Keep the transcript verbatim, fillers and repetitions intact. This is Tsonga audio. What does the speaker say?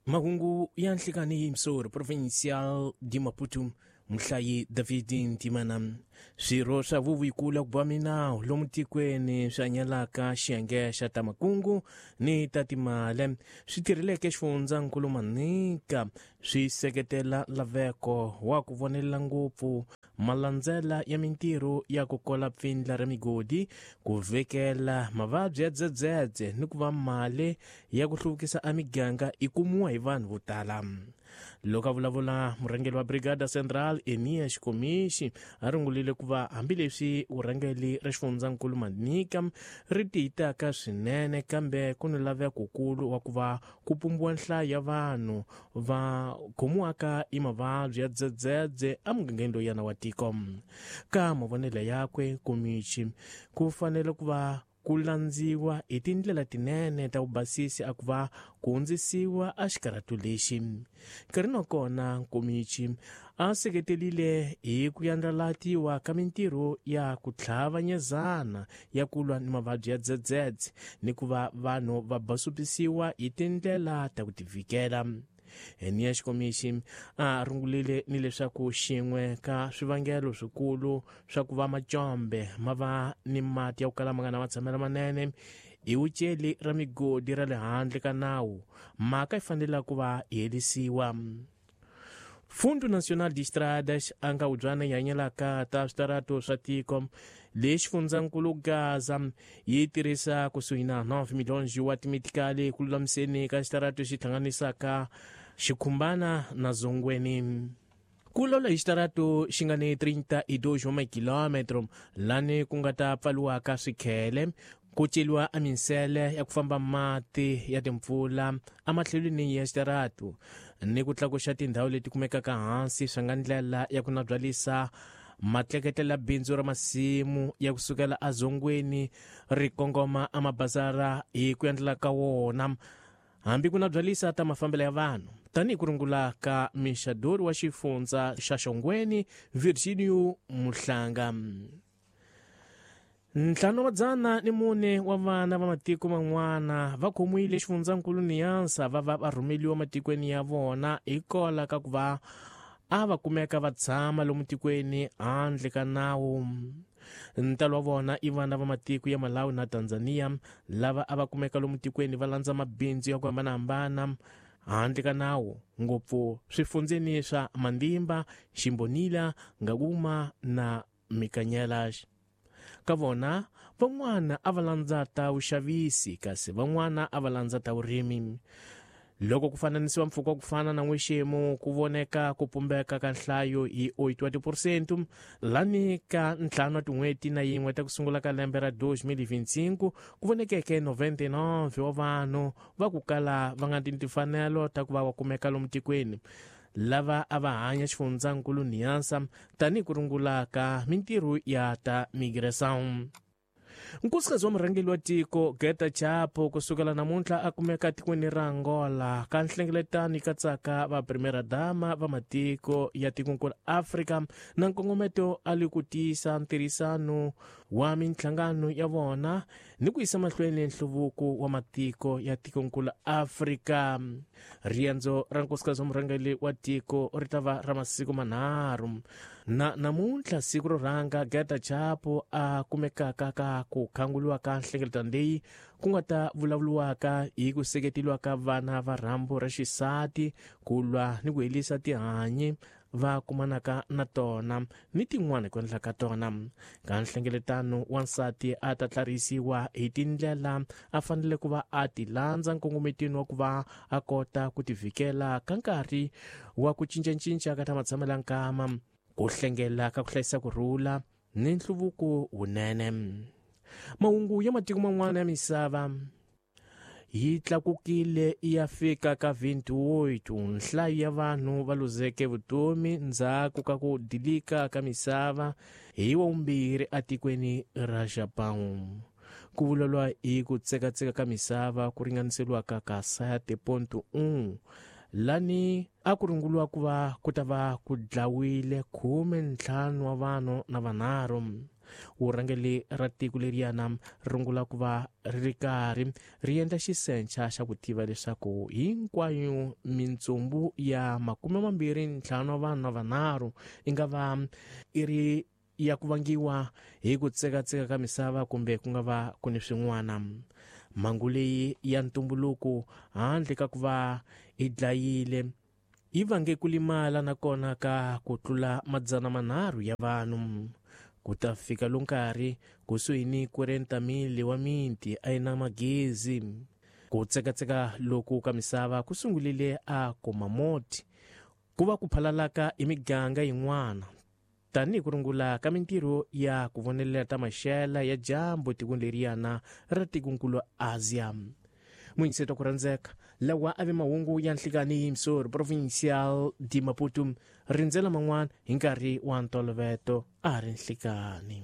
Mahungu ya nhlikani hi Msoro Provincial de Maputo, muhlayi David Ntimana. Swirho swa vuvikula ku ba minawu lomu tikweni swa nyalaka xiyenge xa ta makungu ni ta timali swi tirheleke xifundzankulu Manica swi seketela laveko wa ku vonelela ngopfu malandzela ya mintirho ya ku kola pfindla ra migodi, ku vekela mavabyi ya dzedzedze ni ku va mali ya ku hluvukisa a miganga i kumiwa hi vanhu vo tala. Loko a vulavula murhangeri wa Brigada Central Enia Xikomixi a rungulile ku va hambileswi vurhangeri ra xifundzankulu Manica ri tiyitaka swinene, kambe ku ni lavekokulu wa ku va ku pumbiwa nhlayo ya vanhu va khomiwaka hi mavabyi ya dzedzedze emugangeni loyana wa tiko. Ka mavonelo yakwe Komichi ku fanele ku va ku landziwa hi tindlela tinene ta vubasisi a ku va ku hundzisiwa a xikarhatu lexi. Nkarhi na kona Komichi a seketelile hi ku yandlalatiwa ka mintirho ya ku tlhavanyezana ya ku lwa ni mavabyi ya dzedzedze ni ku va vanhu va basupisiwa hi tindlela ta ku tivikela. Enia Xikomixi a rungulile ni leswaku xin'we ka swivangelo swikulu swa ku va macombe ma va ni mati ya ku kala ma nga na matshamelo manene i wuceli ra migodi ra le handle ka nawu, mhaka yi fanele ku va yi herisiwa. Fundo Nacional de Estradas a nga wubyana yi hanyelaka ta switarato swa tiko lexi xifundzankulu Gaza yi tirhisa kusuhi na nine milhões wa timitikali ku lulamiseni ka xitarato xi hlanganisaka Xikhumbana na Zongweni. Ku lawula hi xitarato xi nga ni trinta e dois wa makilometro lani ku nga ta pfaliwaka swikhele, ku celiwa a minsele ya ku famba mati ya timpfula ematlhelweni ya xitarato ni ku tlakuxa tindhawu leti kumekaka hansi swi nga ndlela ya ku nabyalisa matleketlela bindzu ra masimu ya kusukela azongweni ri kongoma amabazara hi ku endlela ka wona, hambi ku nabyalisa ta mafambelo ya vanhu tanihi ku rungula ka mixadori wa xifundza xa Xongweni Virginio Muhlanga. Ntlhanu wa madzana ni mune wa vana va matiko man'wana va khomiwile xifundzankulu Niansa va va va rhumeliwa matikweni ya vona hikwalaho ka ku va a va kumeka va tshama lomu tikweni handle ka nawu. Ntalo wa vona i vana va matiko ya Malawi na Tanzania lava a va kumeka lomu tikweni va landza mabindzu ya ku hambanahambana handle ka nawu, ngopfu swifundzeni swa Mandimba, Ximbonila, Ngaguma na Mikanyela. Ka vona van'wana a va landza ta vuxavisi kasi van'wana a va landza ta vurimi. Loko ku fananisiwa mpfhuka ku fana na n'wexemu ku voneka ku pumbeka ka nhlayo hi oito wa tiphesente lani ka ntlhanu wa tin'hweti na yin'we ta ku sungula ka lembe ra dois mil e vinte e cinco ku vonekeke noventa e nove wa vanhu va ku kala va nga ni timfanelo ta ku va va kumeka lomu tikweni lava a va hanya xifundzankulu Niansa tanihi ku rungula ka mintirho ya ta migração. Nkosikazi wa murhangeri wa tiko Geta Chapo kusukela namuntlha a kumeka tikweni ra Angola ka nhlengeletano yi katsaka va primera dama va matiko ya tikonkulu Afrika na nkongometo a li ku tiyisa ntirhisano wa minhlangano ya vona ni ku yisa mahlweni nhluvuko wa matiko ya tikonkulu Afrika. Riendzo ra nkosikazi wa murhangeri wa tiko ri ta va ra masiku manharhu na namuntlha siku ro rhanga Geta Chapo a kumekaka ka ku khanguliwa ka nhlengeletano leyi ku nga ta vulavuriwaka hi ku seketeliwa ka vana va rhambu ra xisati ku lwa ni ku herisa tihanyi va kumanaka na tona ni tin'wana ku endla ka tona. Ka nhlengeletano wansati a ta tlarisiwa hi tindlela a fanele ku va a ti landza nkongometweni wa ku va a kota ku tivikela ka nkarhi wa ku cincacinca ka ta matshamelo nkama, ku hlengela ka ku hlayisa ku rhula ni nhluvuko wunene. Mahungu ya matiko man'wana ya misava yi tlakukile ya fika ka vinte e oito nhlayo ya vanhu va luzeke vutomi ndzhaku ka ku dilika ka misava hi wavumbirhi atikweni ra Japão. Ku vuleriwa hi ku tsekatseka ka misava ku ringaniseriwaka ka sete ponto um lani a ku runguliwa ku va ku ta va ku dlawile khume ntlhanu wa vanhu na vanharhu. Vurhangeri ra tiko leriyana rungula ku va ri karhi ri endla xisencha xa ku tiva leswaku hinkwayo mintsumbu ya makume mambirhi ntlhanu wa vanhu na vanharhu i nga va i ri ya ku vangiwa hi ku tsekatseka ka misava kumbe ku nga va ku ni swin'wana. Mhangu leyi ya ntumbuluko handle ka ku va i dlayile yi vange ku limala nakona ka ku tlula madzana manharhu ya vanhu. Ku ta fika lo nkarhi kusuhi ni kwarenta mili wa miti a yi na magezi. Ku tsekatseka loku ka misava ku sungulile a Kumamoto ku va ku phalalaka hi miganga yin'wana tanihi ku rungula ka mintirho ya ku vonelela ta maxela ya dyambu tikweni leriyana ra tikonkulu Asia. Muyingiseti wa ku rhandzeka, lawa a ve mahungu ya nhlikani hi Mysore Provincial de Maputo. Rindzela man'wana hi nkarhi wa ntolovelo a ri nhlikani.